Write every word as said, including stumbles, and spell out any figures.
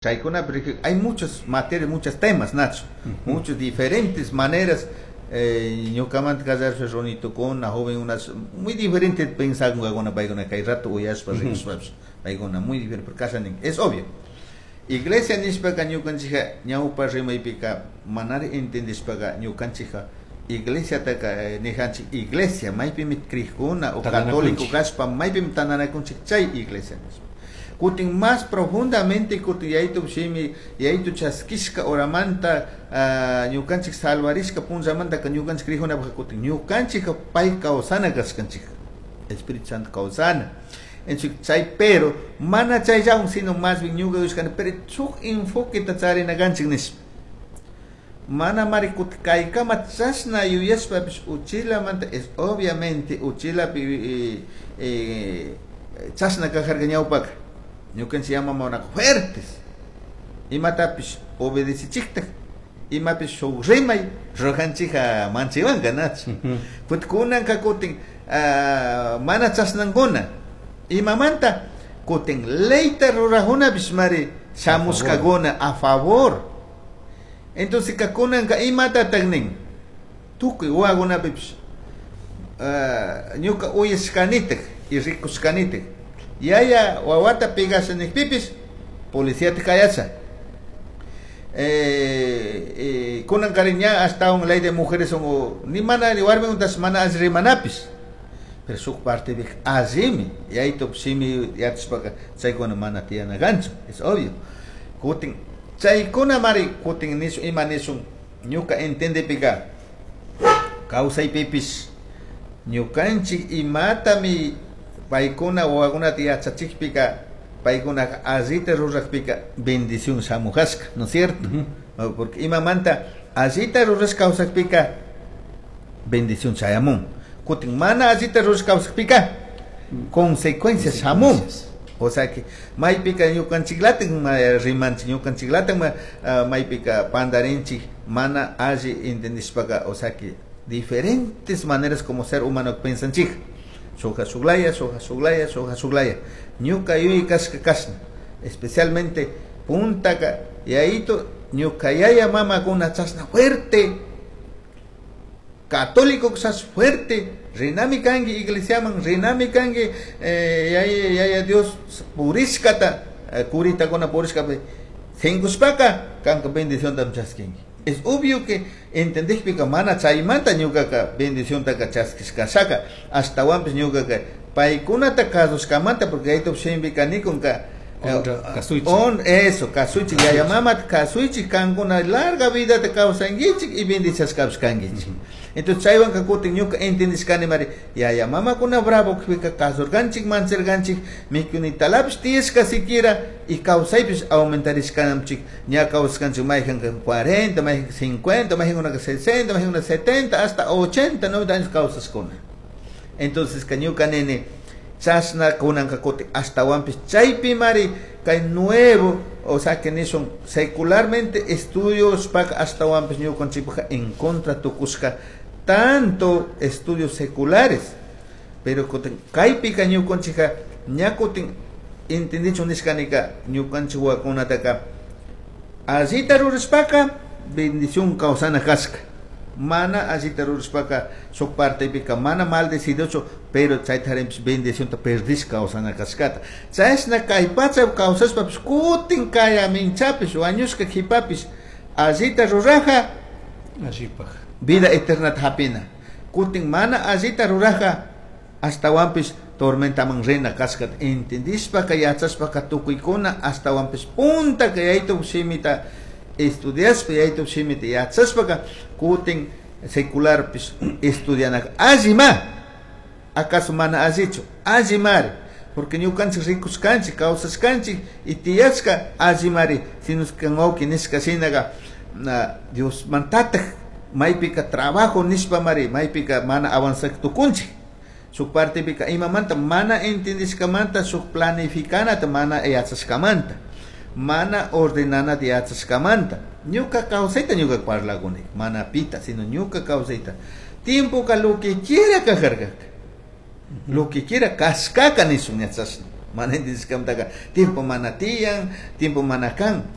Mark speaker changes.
Speaker 1: Chaykunapi hay muchas materias, muchos temas, Nacho, muchas diferentes maneras. Eh, ñukamanta kallarishpa runitukuna jovenunas muy diferente pensakunkakuna paykuna kay rato uyashpa rikushpapish paykuna muy diferente, porque kasha nin, es obvio. Iglesia nishpaka ñukanchikka ñawpa rimaypika manari entendishpaka ñukanchikka iglesiataka nijanchik iglesia maypimi crikuna o católico kashpa maypimi tantanakunchik chay iglesia nishpa. Kutin más profundamente kutin yaytu shimi yaytu chaskishka horamanta ñukanchik salvarishka punllamantaka ñukanchik crijunapaka kutin ñukanchik pay kawsana kashkanchik, Espíritu Santo kawsana. Entonces, chay pero mana chayllawan sino más bien ñuka yushkani pero shuk enfoqueta charina kanchik nishpa. Mana mari kutin kaykama chashna yuyashpapish uchilamanta es obviamente uchilapi eh, eh, chashna kajarka ñawpaka. Ñukanchik yamamanaka fuertes imatapish obedecichiktak imapish shuk rimay rujanchika manchiwanka, nachu? Kutin kunanka kutin mana chashnankuna. Imamanta kutin leyta rurajunapish mari shamushkakuna a favor. Entonces ka kunanka imatatak nin tukuy wawakunapipish ñuka uyashkanitak y rikushkanitak yaya wawata pegasha nikpipish policiata kayasha. Eh, eh, kunankarin ña hasta un ley de mujeres son ni mana ni warmikuntash mana alli rimanapish, pero shuk partepika allimi yaytup shimi yachashpaka chaykuna mana tiyana kanchu, es obvio. Kutin chaykuna mari kutin nishun ima nishun ñuka entendepika kawsaypipish ñukanchik imatami paykuna wawakunata yachachikpika paykunaka allita rurakpika bendición shamujashka, ¿no es cierto? Porque imamanta allita rurash kawsakpika bendición chayamun. Kutin mana allita rurash kawsakpika consecuencias shamun. O sea que maypika ñukanchiklatak rimanchik, ñukanchiklatak maypika pandarinchik mana alli entendishpaka, o sea que diferentes maneras como ser humano pensanchik. Shukka shuklaya, shukka shuklaya, shukka shuklaya. Ñuka yuyay kashka kashna. Especialmente puntaka yayito ñuka yaya mamakuna chashna fuerte, católico chashna fuerte, rinami kanki iglesiaman, rinami kanki eh, yaya, yaya Dios purishkata, eh, kuritakuna purishkapi sinkushpaka kanka bendicionta chaskinki. Es obvio que entendikpika mana chaymanta ñukaka bendiciontaka chaskishkashaka, ashtawanpish ñukaka paykunata kasushkamanta, porque yaytup shimpika nikunka
Speaker 2: Kasuychik.
Speaker 1: On eso, kasuychik, yaya mamata kasuychik, kankuna larga vidata kawsankichik y bendiciashkapish kankichik. Entonces chaywanka kutin ñuka entendishkani mari yaya mamakuna bravo kpika kasurkanchik, mancharkanchik, mikunitalapis tiyashka siquiera y kawsaypish aumentarishkanamchik, ña kawsashkanchik mayjanka cuarenta, mayjanka cincuenta, mayjankunaka sesenta, mayjankuna setenta, hasta ochenta, noventa años kawsashkuna. Entonces ka ñuka nini chashna kunanka kutin ashtawanpish chaypi mari kay nuevo, o sea que nishun secularmente estudios pak ashtawanpish ñukanchikpaka en contra tukushka tanto estudios seculares, pero kutin kaypika ñukanchikka ña kutin entendichun nishkanika ñukanchik wawakunataka allita rurashpaka bendición kawsana kashka, mana allita rurashpaka shuk partepika mana mal decidicho, pero chaytarinpish bendicionta perdishka kawsana kashkata. Chashna kay pacha kawsashpapish kutin kayaminchapish wañushka kipapish allita ruraja
Speaker 2: allipaj
Speaker 1: vida eterna hapina. Kutin mana allita ruraja ashtawanpish tormentaman rina kashkata entendishpaka yachashpaka tukuykuna ashtawanpish puntaka yaytup shimita estudiashpa yaytup shimita yachashpaka kutin secularpish estudianaka allima, acaso mana allichu, allimari, porque ñukanchik rikushkanchik kawsashkanchik y tiyashka allimari, sino kan wawki nishka shinaka Diosmantataj maypika trabajo nishpa mari maypika mana avanzak tukunchik. Shuk partepika imamanta mana entendishkamanta shuk planificanata mana yachashkamanta mana ordenanata yachashkamanta ñuka kawsayta ñuka parlakuni mana pita sino ñuka kawsayta tiempoka lo que quiera kajarkaka lo que quiera kashkaka nishun yachashna. Mana entendishkamantaka tiempo mana tiyan, tiempo mana kan.